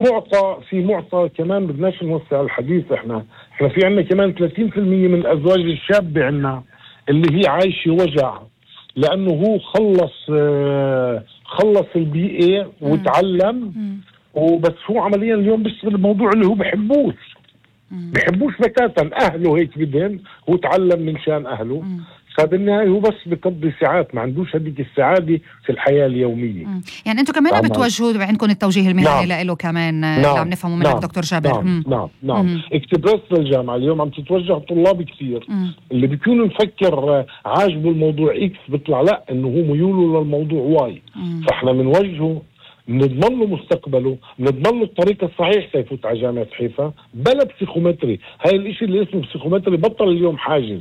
معطى كمان بدناش نوسع الحديث. احنا في عنا كمان 30% من الازواج الشابة عنا اللي هي عايشة وجع، لانه هو خلص الBA وتعلم وبس. هو عمليا اليوم بيشتغل الموضوع اللي هو بحبوش بتاتا. اهله هيك بدهن، هو تعلم من شان اهله. فبالنهاية هو بس بقضي ساعات، ما عندوش هذيك السعادة في الحياة اليومية. يعني انتم كمان بتوجهوا عندكم التوجيه المهني له كمان. اللي عم نفهمه منك دكتور جابر. نعم. اكتبرس للجامعة اليوم عم تتوجه طلاب كثير اللي بيكونوا مفكر عاجبه الموضوع إكس، بيطلع لا انه هو ميوله للموضوع واي. فاحنا بنوجهه، بنضمن له مستقبله، بنضمن له الطريق الصحيح سيفوت على جامعة حيفا بلا بسيخومتري. هاي الاشي اللي اسمه بسيخومتري بطل اليوم حاجز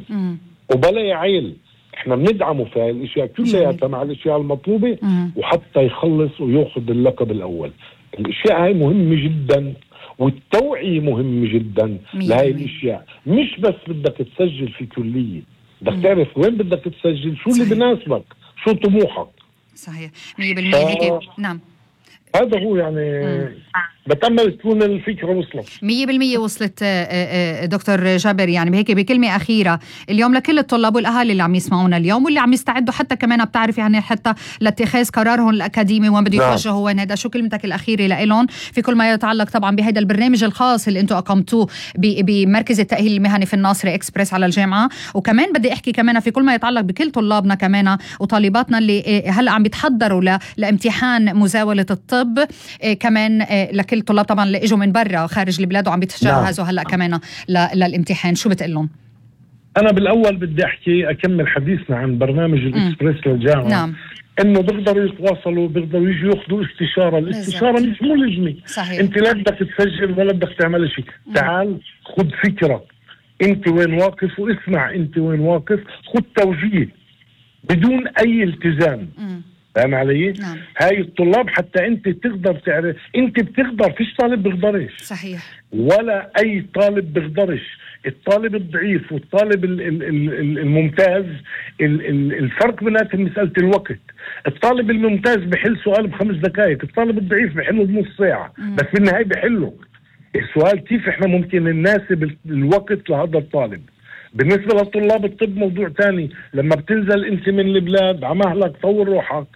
وبلا يعيل. احنا بندعمه في هاي الاشياء كلها مع الاشياء المطلوبة وحتى يخلص وياخذ اللقب الاول. الاشياء هاي مهمة جدا، والتوعية مهمة جدا لهاي الاشياء. مش بس بدك تسجل في كلية، بدك تعرف وين بدك تسجل، شو اللي بناسبك، شو طموحك. صحيح 100% هيك. نعم هذا هو يعني بتأمل تكون الفكرة وصلت 100%. وصلت دكتور جابر. يعني بهيك بكلمة أخيرة اليوم لكل الطلاب والأهالي اللي عم يسمعونا اليوم واللي عم يستعدوا حتى كمان بتعرف يعني حتى لاتخاذ قرارهم الأكاديمي وين بده يتوجهوا وين، هذا شو كلمتك الأخيرة لإلهم في كل ما يتعلق طبعا بهذا البرنامج الخاص اللي أنتم أقمتوه بمركز التأهيل المهني في الناصري إكسبرس على الجامعة؟ وكمان بدي أحكي كمان في كل ما يتعلق بكل طلابنا كمان وطالباتنا اللي هلأ عم بيتحضروا لامتحان مزاولة الطب، كمان لكل طلاب طبعا اللي اجوا من برا خارج البلاد وعم بيتجهزوا هلا كمان للامتحان، شو بتقلهم؟ انا بالاول بدي اكمل حديثنا عن برنامج الاكسبرس للجامعه. انه بيقدروا يتواصلوا، بيقدروا يجوا ياخذوا استشاره. الاستشاره مش ملزمه. انت لا بدك تسجل ولا بدك تعمل شيء. تعال خذ فكره انت وين واقف واسمع انت وين واقف، خذ توجيه بدون اي التزام. فاهم علي؟ هاي الطلاب حتى انت تقدر تعرف، انت بتقدر، فيش طالب بيقدرش. صحيح. ولا اي طالب بيقدرش. الطالب الضعيف والطالب الممتاز الفرق بيناتهم مسألة الوقت. الطالب الممتاز بحل سؤال ب5 دقائق، الطالب الضعيف بحله بنص ساعة، بس بالنهاية بحله. السؤال كيف احنا ممكن نناسب الوقت لهذا الطالب. بالنسبة لطلاب الطب موضوع تاني. لما بتنزل انت من البلاد عمهلك طور روحك،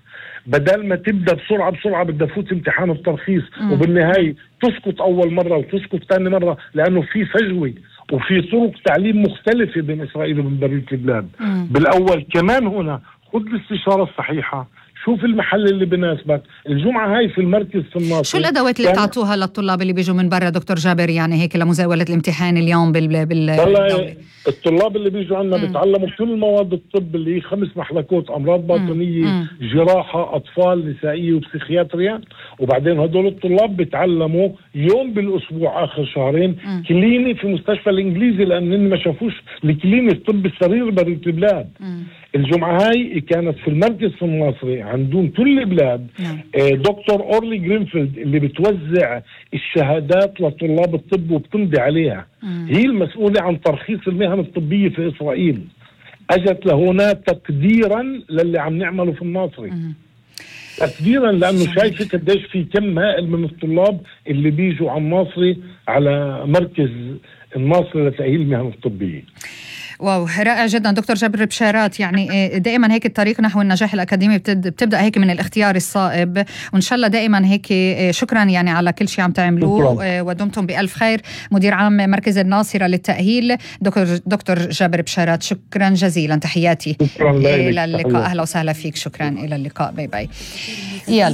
بدل ما تبدأ بسرعة بدها تفوت امتحان الترخيص وبالنهاية تسقط أول مرة وتسقط ثاني مرة، لأنه في فجوة وفي طرق تعليم مختلفة بين إسرائيل وبين بقية البلاد. بالأول كمان هنا خذ الاستشارة الصحيحة، شوف المحل اللي بناسبك. الجمعة هاي في المركز في الناصري. شو الأدوات اللي بتعطوها للطلاب اللي بيجوا من برا دكتور جابر يعني هيك لمزاولة الامتحان اليوم والله الطلاب اللي بيجوا عنا بيتعلموا كل مواد الطب اللي هي 5 محلكات: أمراض باطنية، جراحة، أطفال، نسائية وبسيخياتريا. وبعدين هدول الطلاب بيتعلموا يوم بالأسبوع آخر شهرين كليني في مستشفى الإنجليزي، لأنهم ما شافوش الكليني الطب السرير برية البلاد. الجمعة هاي كانت في المركز في الناصري عندهم كل البلاد. دكتور أورلي جرينفيلد اللي بتوزع الشهادات لطلاب الطب وبتمضي عليها، هي المسؤولة عن ترخيص المهن الطبية في إسرائيل. أجت لهنا تقديرا للي عم نعمله في الناصري، تقديرا لأنه شايفة قديش في كم هائل من الطلاب اللي بيجوا على الناصري، على مركز الناصري لتأهيل المهن الطبية. واو رائع جدا دكتور جابر بشارات. يعني دائما هيك الطريق نحو النجاح الأكاديمي بتبدأ هيك من الاختيار الصائب، وإن شاء الله دائما هيك. شكرا يعني على كل شيء عم تعملوه ودمتم بألف خير. مدير عام مركز الناصرة للتأهيل دكتور جابر بشارات، شكرا جزيلا. تحياتي. إلى اللقاء. أهلا وسهلا فيك. شكرا. إلى اللقاء. باي باي. يلا.